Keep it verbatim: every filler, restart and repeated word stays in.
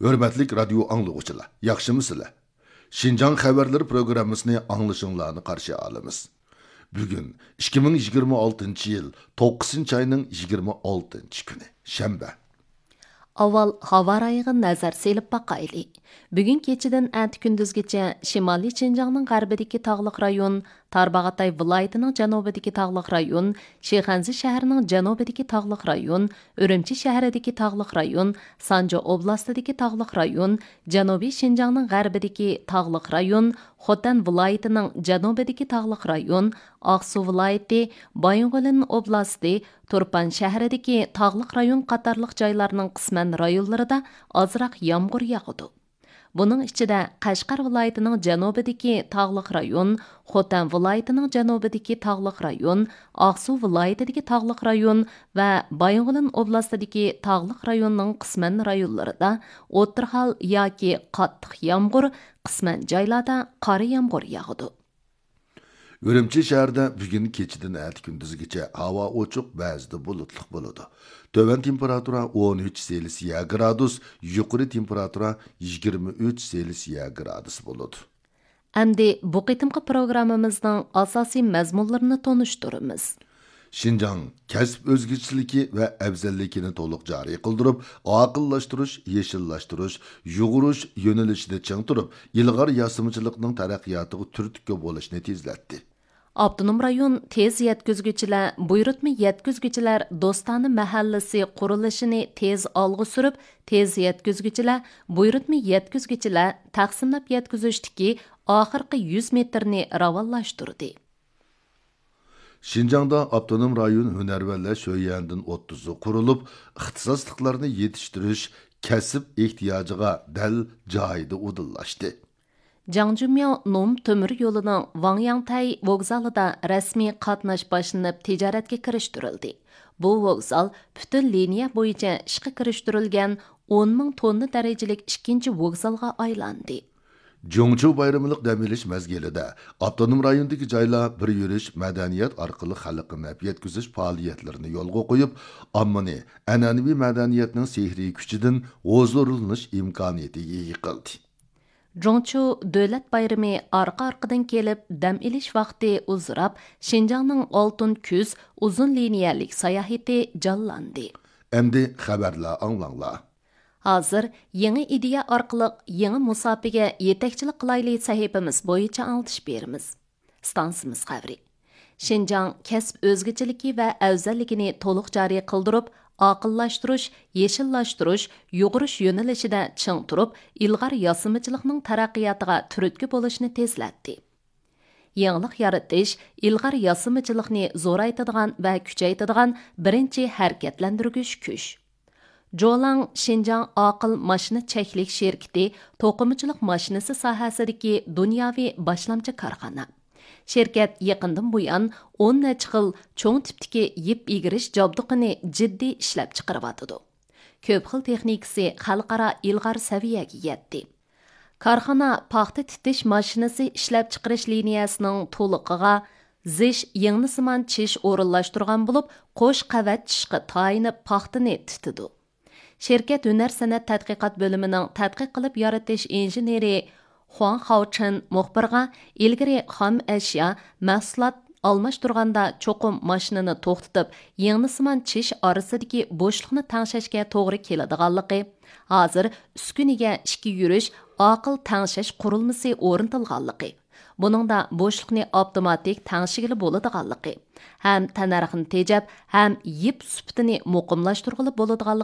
ھۆرمەتلىك رادىيو ئاڭلىغۇچىلار، ياخشىمۇسىلەر؟ شىنجاڭ خەۋەرلىرى پروگراممىسىنى ئاڭلىشىڭلارنى قارشى ئالىمىز. بۈگۈن ئىككى مىڭ يىگىرمە ئالتىنچى يىل توققۇزىنچى ئاينىڭ يىگىرمە ئالتىنچى كۈنى، شەنبە. ئاۋۋال ھاۋا رايىغا نەزەر سېلىپ باقايلى. بۈگۈن كېچىدىن ئەتە كۈندۈزگىچە شىمالىي شىنجاڭنىڭ غەربىدىكى تاغلىق رايون، تارباغاتاي ۋىلايىتىنىڭ جەنۇبىدىكى تاغلىق رايون، شىخەنزە شەھىرىنىڭ جەنۇبىدىكى تاغلىق رايون، ئۈرۈمچى شەھىرىدىكى تاغلىق رايون، سانجى ئوبلاستىدىكى تاغلىق رايون، جەنۇبىي شىنجاڭنىڭ غەربىدىكى تاغلىق رايون، خوتەن ۋىلايىتىنىڭ جەنۇبىدىكى تاغلىق رايون، ئاقسۇ ۋىلايىتى، بايىنغولىن ئوبلاستى، تۇرپان شەھىرىدىكى تاغلىق رايون قاتارلىق جايلارنىڭ قىسمەن رايونلىرىدا ئازراق يامغۇر ياغىدۇ. بۇنىڭ ئىچىدە، قەشقەر ۋىلايىتىنىڭ جەنۇبىدىكى تاغلىق رايون، خوتەن ۋىلايىتىنىڭ جەنۇبىدىكى تاغلىق رايون، ئاقسۇ ۋىلايىتىدىكى تاغلىق رايون ۋە بايىنغولىن ئوبلاستىدىكى تاغلىق رايوننىڭ قىسمەن رايونلىرىدا ئوتتۇرا ھال ياكى قاتتىق يامغۇر، قىسمەن جايلاردا قارا يامغۇر ياغىدۇ. ئۈرۈمچى شەھىرىدە بۈگۈن كېچىدىن ئەتە كۈندۈزگىچە ھاۋا ئوچۇق، بەزىدە بۇلۇتلۇق بولىدۇ. تۆۋەن تېمپېراتۇرا ئون ئۈچ سېلسىيە گرادۇس، يۇقىرى تېمپېراتۇرا يىگىرمە ئۈچ سېلسىيە گرادۇس بولىدۇ. ئەمدى بۇ قېتىمقى پروگراممىمىزنىڭ ئاساسىي مەزمۇنلىرىنى تونۇشتۇرىمىز. شىنجاڭ كەسىپ ئۆزگىچىلىكى ۋە ئەۋزەللىكىنى تولۇق جارى قىلدۇرۇپ، ئاقىللاشتۇرۇش، يېشىللاشتۇرۇش، يۇغۇرۇش يۆنىلىشىدە چىڭ تۇرۇپ، ئىلغار ياسىمىچىلىقنىڭ تەرەققىياتىغا تۈرتكە بولۇشنى تېزلەتتى. ئاپتونوم رايون تېز يەتكۈزگۈچىلەر، بۇيرۇتما يەتكۈزگۈچىلەر دوستانە مەھەللىسى قۇرۇلۇشىنى تېز ئالغا سۈرۈپ، تېز يەتكۈزگۈچىلەر، بۇيرۇتما يەتكۈزگۈچىلەر تەقسىملەپ يەتكۈزۈشتىكى ئاخىرقى يۈز مېتىرنى راۋانلاشتۇردى. شىنجاڭدا ئاپتونوم رايون ھۈنەرۋەنلەر شۆيۈەندىن ئوتتۇزى قۇرۇلۇپ، ئىختىساسلىقلارنى يېتىشتۈرۈش كەسىپ ئېھتىياجىغا دەل جايىدا ئۇدۇللاشتى. جاڭجۈمياۋ نوم تۆمۈر يولىنىڭ ۋاڭياڭتەي ۋوگزالىدا رەسمىي قاتناش باشلىنىپ، تىجارەتكە كىرىشتۈرۈلدى. بۇ ۋوگزال پۈتۈن لىنىيە بويىچە ئىشقا كىرىشتۈرۈلگەن ئون مىڭ توننا دەرىجىلىك ئىككىنچى ۋوگزالغا ئايلاندى. جۇڭچۇ بايرىملىق دەم ئېلىش مەزگىلىدە ئاپتونوم رايوندىكى جايلار بىر يۈرۈش مەدەنىيەت ئارقىلىق خەلققە نەپ يەتكۈزۈش پائالىيەتلىرىنى يولغا قويۇپ، ئاممىنى ئەنئەنىۋى مەدەنىيەتنىڭ سېھرىي كۈچىدىن ھۇزۇرلىنىش ئىمكانىيىتىگە ئىگە قىلدى. جۇڭچۇ دۆلەت بايرىمى ئارقا-ئارقىدىن كېلىپ، دەم ئېلىش ۋاقتى ئۇزىراپ، شىنجاڭنىڭ ئالتۇن كۈز ئۇزۇن لىنىيەلىك ساياھىتى جانلاندى. ئەمدى خەۋەرلەر ئاڭلاڭلار. ھازىر يېڭى ئىدىيە ئارقىلىق يېڭى مۇساپىگە يېتەكچىلىك قىلايلى سەھىپىمىز بويىچە ئاڭلىتىش بېرىمىز. ئىستانسىمىز خەۋىرى. شىنجاڭ كەسىپ ئۆزگىچىلىكى ۋە ئەۋزەللىكىنى تولۇق جارى قىلدۇرۇپ، ئاقىللاشتۇرۇش، يېشىللاشتۇرۇش، يۇغۇرۇش يۆنىلىشىدە چىڭ تۇرۇپ، ئىلغار ياسىمىچىلىقنىڭ تەرەققىياتىغا تۈرتكە بولۇشنى تېزلەتتى. يېڭىلىق يارىتىش، ئىلغار ياسىمىچىلىقنى زورايتىدىغان ۋە كۈچەيتىدىغان بىرىنچى ھەرىكەتلەندۈرگۈچ كۈچ. جولاڭ شىنجاڭ ئاقىل ماشىنا چەكلىك شىركىتى توقۇمىچىلىق ماشىنىسى ساھەسىدىكى دۇنياۋى باشلامچى كارخانا. شىركەت يېقىندىن بۇيان ئون نەچچە خىل چوڭ تىپتىكى يىپ ئېگىرىش جابدۇقىنى جىددىي ئىشلەپچىقىرىۋاتىدۇ. كۆپ خىل تېخنىكىسى خەلقئارا ئىلغار سەۋىيەگە يەتتى. كارخانا پاختا تىتىش ماشىنىسى ئىشلەپچىقىرىش لىنىيەسىنىڭ تولۇقىغا زىش يىڭنىسىمان چىش ئورۇنلاشتۇرغان بولۇپ، قوش قەۋەت چىشقا تايىنىپ پاختىنى تىتىدۇ. شىركەت ھۈنەر سەنئەت تەتقىقات بۆلۈمىنىڭ تەتقىق قىلىپ يارىتىش ئىنژېنېرى خۇاڭ خاۋچېن مۇخبىرغا، ئىلگىرى خام ئەشيا، مەھسۇلات ئالماشتۇرغاندا چوقۇم ماشىنىنى توختىتىپ، يىڭنىسىمان چىش ئارىسىدىكى بوشلۇقنى تەڭشەشكە توغرا كېلىدىغانلىقى، ھازىر ئۈسكۈنىگە ئىككى يۈرۈش ئاقىل تەڭشەش قۇرۇلمىسى ئورنىتىلغانلىقى، بۇنىڭدا بوشلۇقنى ئاپتوماتىك تەڭشىگىلى بولىدىغانلىقى ھەم تەننەرخنى تېجەپ ھەم يىپ سۈپىتىنى مۇقىملاشتۇرغىلى بولىدىغانلىقى